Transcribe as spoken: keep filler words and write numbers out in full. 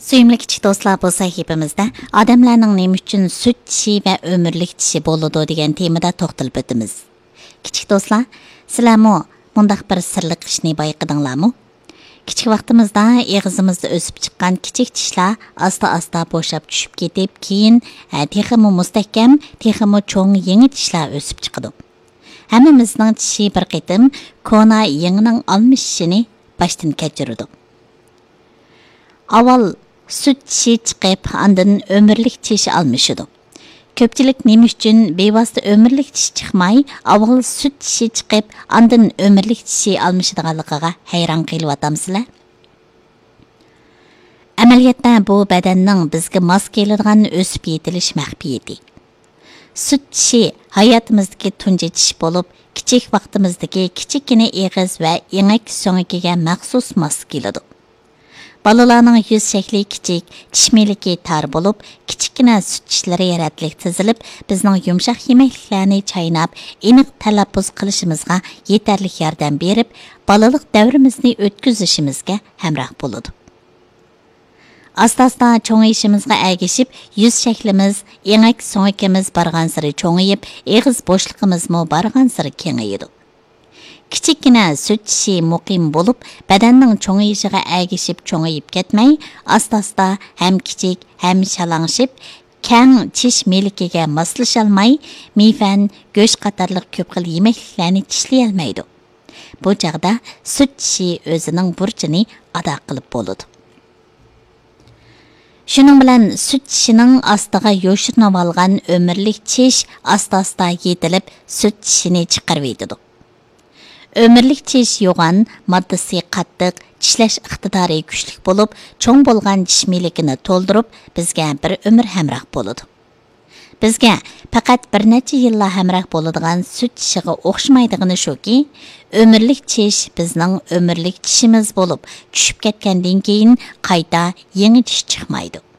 سۆيۈملۈك كىچىك دوستلار، بۇ سەھىپىمىزدە ئادەملەرنىڭ نېمە ئۈچۈن سۈت چىشى ۋە ئۆمۈرلۈك چىشى بولىدۇ دېگەن تېمىدا توختىلىپ ئۆتىمىز. كىچىك دوستلار، سىلەرمۇ مۇنداق بىر سىرلىق ئىشنى بايقىدىڭلارمۇ؟ كىچىك ۋاقتىمىزدا ئېغىزىمىزدا ئۆسۈپ چىققان كىچىك چىشلار ئاستا-ئاستا بوشاپ چۈشۈپ كېتىپ، كېيىن، ھە، تېخىمۇ مۇستەھكەم، تېخىمۇ چوڭ يېڭى چىشلار ئۆسۈپ چىقىدۇ. ھەممىمىزنىڭ چىشى بىر قېتىم كونا يېڭىنىڭ ئالمىشىشىنى باشتىن كەچۈرىدۇ. ئاۋۋال سۈت چىشى چىقىپ، ئاندىن ئۆمۈرلۈك چىش ئالمىشىدۇ. كۆپچىلىك نېمە ئۈچۈن بىۋاسىتە ئۆمۈرلۈك چىش چىقماي، ئاۋۋال سۈت چىشى چىقىپ، ئاندىن ئۆمۈرلۈك چىشى ئالمىشىدىغانلىقىغا ھەيران قېلىۋاتامسىلەر؟ ئەمەلىيەتتە بۇ بەدەننىڭ بىزگە ماس كېلىدىغان ئۆسۈپ يېتىلىش مەخپىيىتى. سۈت چىشى ھاياتىمىزدىكى تۇنجى چىش بولۇپ، كىچىك ۋاقتىمىزدىكى كىچىككىنە ئېغىز ۋە ئېڭەك سۆڭىكىگە مەخسۇس ماس كېلىدۇ. بالىلارنىڭ يۈز شەكلى كىچىك، چىش مىلىكى تار بولۇپ، كىچىككىنە سۈت چىشلىرى رەتلىك تىزىلىپ، بىزنىڭ يۇمشاق يېمەكلىكلەرنى چايناپ، ئېنىق تەلەپپۇز قىلىشىمىزغا يېتەرلىك ياردەم بېرىپ، بالىلىق دەۋرىمىزنى ئۆتكۈزۈشىمىزگە ھەمراھ بولىدۇ. ئاستا-ئاستا چوڭىيىشىمىزغا ئەگىشىپ، يۈز شەكلىمىز، ئېڭەك سۆڭىكىمىز بارغانسېرى چوڭىيىپ، ئېغىز بوشلۇقىمىزمۇ بارغانسېرى كېڭىيىدۇ. كىچىككىنە سۈت چىشى مۇقىم بولۇپ، بەدەننىڭ چوڭىيىشىغا ئەگىشىپ چوڭىيىپ كەتمەي، ئاستا-ئاستا ھەم كىچىك، ھەم شالاڭشىپ، كەڭ چىش مىلىكىگە ماسلىشالماي، مىيفەن، گۆش قاتارلىق كۆپ خىل يېمەكلىكلەرنى چىشلىيەلمەيدۇ. بۇ چاغدا سۈت چىشى ئۆزىنىڭ بۇرچىنى ئادا قىلىپ بولىدۇ. شۇنىڭ بىلەن سۈت چىشىنىڭ ئاستىغا يوشۇرۇنۇۋالغان ئۆمۈرلۈك چىش ئاستا-ئاستا يېتىلىپ، سۈت چىشىنى چىقىرىۋېتىدۇ. ئۆمۈرلۈك چىش يوغان، ماددىسى قاتتىق، چىشلەش ئىقتىدارى كۈچلۈك بولۇپ، چوڭ بولغان چىش مىلىكىنى تولدۇرۇپ، بىزگە بىر ئۆمۈر ھەمراھ بولىدۇ. بىزگە پەقەت بىر نەچچە يىللا ھەمراھ بولىدىغان سۈت چىشىغا ئوخشىمايدىغىنى شۇكى، ئۆمۈرلۈك چىش بىزنىڭ ئۆمۈرلۈك چىشىمىز بولۇپ، چۈشۈپ كەتكەندىن كېيىن قايتا يېڭى چىش چىقمايدۇ.